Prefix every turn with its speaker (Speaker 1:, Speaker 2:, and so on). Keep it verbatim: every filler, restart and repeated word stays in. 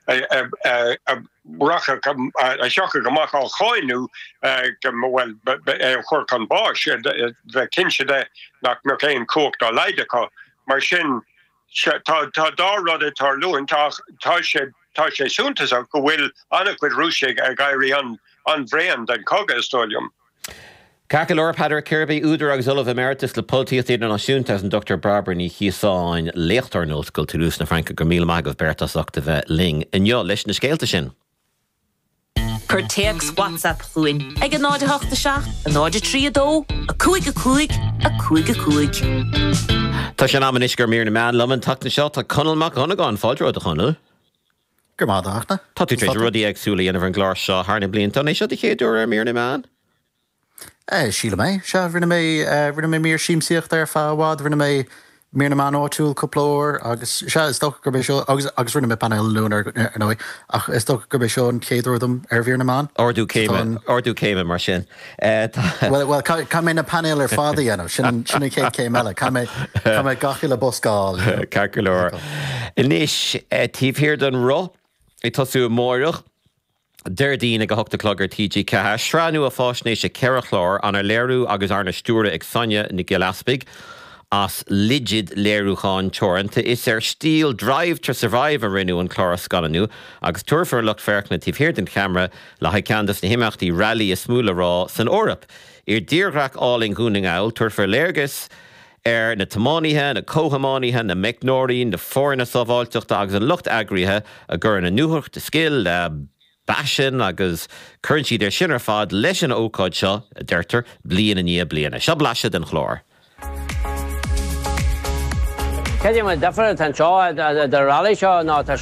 Speaker 1: a thiocfadh amach á cháineadh bhuel é a chur chun báis bheith cinnte de nach mbeadh aon chumhacht dá laghad acu. Mar sin tá tá dá rud ag tarlúint ach tá sé tá sé suntasach go bhfuil an-chuid Rúisigh ag éirí an an-bhréan den chogadh is dóigh liom.
Speaker 2: Ceart go leor Peadar Kirby údar agus Ollamh Emeritus le Polaitíocht Idirnáisiúnta agus an Dr Barbara Ní Chíosáin léachtóir in Ollscoil Toulouse na Fraince go míle maith agaibh beirt as ucht a bheith linn inniu leis na scéalta sin.
Speaker 3: Cuir téacs WhatsApp chugainn ag a náid a hocht a seacht, a náid a trí a dó, a cúig a cúig, a cúig a cúig.
Speaker 2: Tá sé in am anois do mhír na meán liom an tseachtain seo tá Conall Mac Dhonnagáin fáilte romhat a Chonaill.
Speaker 4: Go maith a
Speaker 2: Tá tú tar éis rudaí éagsúla a dhéanamh ar an gclár seo thar na blianta an é seo do chéad uair ar mír na meán?
Speaker 4: Eh, sílim é sea rinne mé eh, rinne mé mír siamsaíochta ar feadh i bhfad rinne mé mír na meán áitiúil cúpla uair agus sea is dócha gurb é seo agus agus rinne mé painéal luan ar ar ndóigh ach is dócha gurb é seo an chéad uair dom ar mhír na meán.
Speaker 2: Ardú céime ardú céime mar sin. Eh,
Speaker 4: Well well caithfidh mé na painéil ar fad a dhéanamh sin an sin an chéad céim eile caithfidh mé caithfidh mé gach uile bosca a fháil.
Speaker 2: Ceart go leor. Anois taobh thiar den roth ag tosú amárach. Déardaoin ag a hocht a chlog ar TG Ceathair, sraith nua faisnéise ceithre chlár arna léiriú agus arna stiúradh ag Sonia Nic Giolla Easpaig as Ligid Léiriúcháin Teoranta. Is ar stíl Drive to Survive a rinneadh an clár a scannánú agus tabharfar lucht féachana taobh thiar den cheamara le haghaidh ceann de na himeachtaí railí is mó le rá san Eoraip. I dtírdhreach álainn Dhún na nGall tabharfar léargas ar na tiománaithe, na comhthiománaithe, na meicneoirí, na foirne sábháilteachta agus an lucht eagraithe a gcuireann a ndúthracht scil le paisean agus cuireann siad ar sin ar fad leis an ócáid seo a deirtear bliain i ndiaidh bliana. Seo blaiseadh den chlár.
Speaker 5: Cad é an difear atá anseo do rally seo ná tá